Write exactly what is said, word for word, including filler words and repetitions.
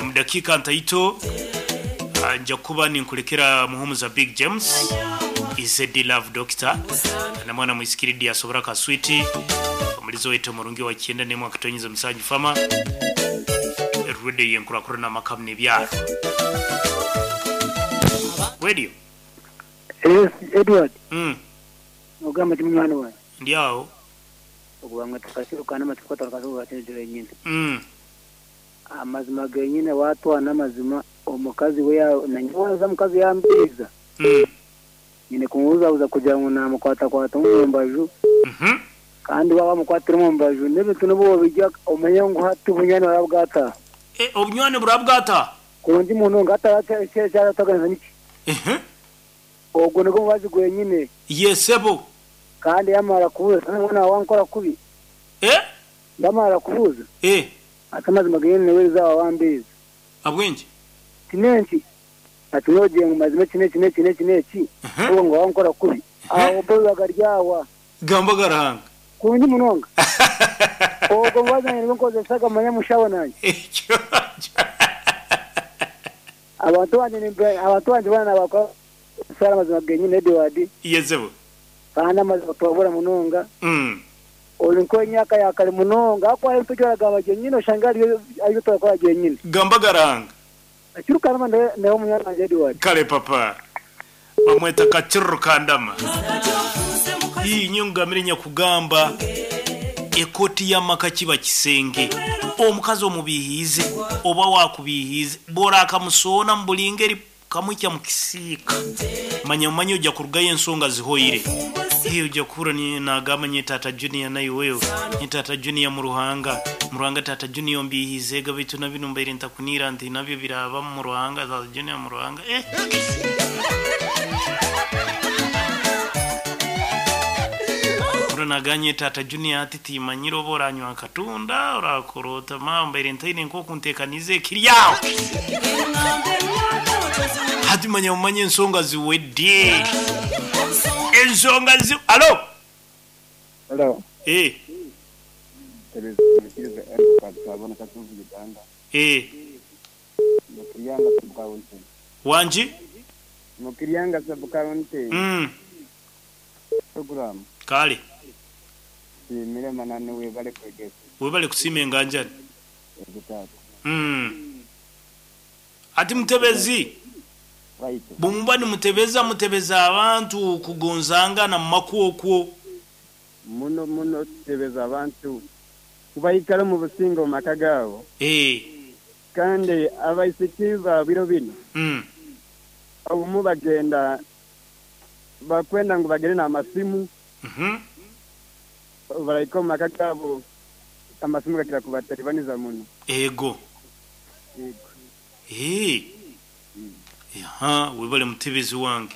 Omu dakiika ntaito ah, nja kuba ninkurekera Muhumuza Big James Izedi Love Doctor na mwana mwisikiridi asobora kaswiti omulizo wetu omurungi wa kyenda nemwe akatonyeza musanju fama radio yenkurakurana amakamu n'ebyaro radio. Yes, Edward, mm. ogamba ti munywani wange. Ndi aho. Okubanga tukasirukana amatsiko twakasuka genyine. Mm. Amazima genyine watwana amazima omukazi we ya- nanyoza omukazi yambiza. Mm. Nyine kumubuzabuza kugira ngu namukwatakwata omu mbaju Mhm. kandi waba wamukwatira omu mbaju n'ebintu n'obu wabijja omanye ngu hati obunywani bwaba bwataha. E, obunywani burabwata. Kurungi munonga hatakyarataganiza niki. Ehe. Ogwo nigwo mubazi gwenyine Yesebo. kandi yamara kubuuza nabona wankora kubi Eh? yamara kubuuza Eh, ati amazima genyine niwe rizaba wambiza. abwenje. Kinenki ati nogiye mu mazima iki n'iki n'iki n'iki n'iki Mhm. ubu ngo wankora kubi aho bo bibaga ryawa Gamba garahanga. kurungi munonga ogwo mubazi wange nibwo nkozesaga manya mushaho nanjye Ekyo. abantu banje nimbe- abantu banje bana bakora sara amazima genyine Edward Yesebo. kandi amazima tubabura munonga Mm. ori nk'emyaka ya kare munonga ako ari tujyoraga genyine oshanga ariyo ariyo turakora genyine Gamba garahanga. akirukana nawe munyana wanjye Edward. Kale papa. Bamweta kachirro kandama. Iyi nyungamire nyakugamba ekoti y'amaka kiba kisenge omukazi omubihiize oba wakubihiize bora akamusoona mu buli ngeri kamwikya mu kisiika manya mumanye ojja kurugayo ensonga zihoire. Hey, ojja kuhura ni- nagamba nye tata junior nayo wewe nye tata junior mu ruhanga mu ruhanga tata junior mbihiize ga bitu na bino mbaire ntakunira nti nabyo biraba mu ruhanga tata junior mu ruhanga eh. Uranaganye tata junior ati timanyire oba oranywa akatunda orakorota mamba ntaine nkokuntekaniza ekiri aho hati manya mumanye ensonga ziwedde ensonga zi alo. Hello. Eh, Tebeza Edward Kabona Katuvu Uganda. eh, Mukiriyanga sub county. wanji. Mukiriyanga sub county. Mm, Program. kale Simire manane webale kwegesa. webale kusiima enganjani. Ekitatu. Mm. Ati mutebezi Right. bwemuba nimutebeza mutebeza abantu kugonzangana mu makwokwo. Muno muno tebeza abantu kubayikala mu businga mu maka gaabo Eh, kandi abaisiki ba biro bino mm. obumu bagenda bakwenda ngu bagende n'amasimu Mhm. barahika omu maka gaabo amasimu gakira kubataribaniza muno. Ego. Yego. Eh. Aha, webale mutebezi wange.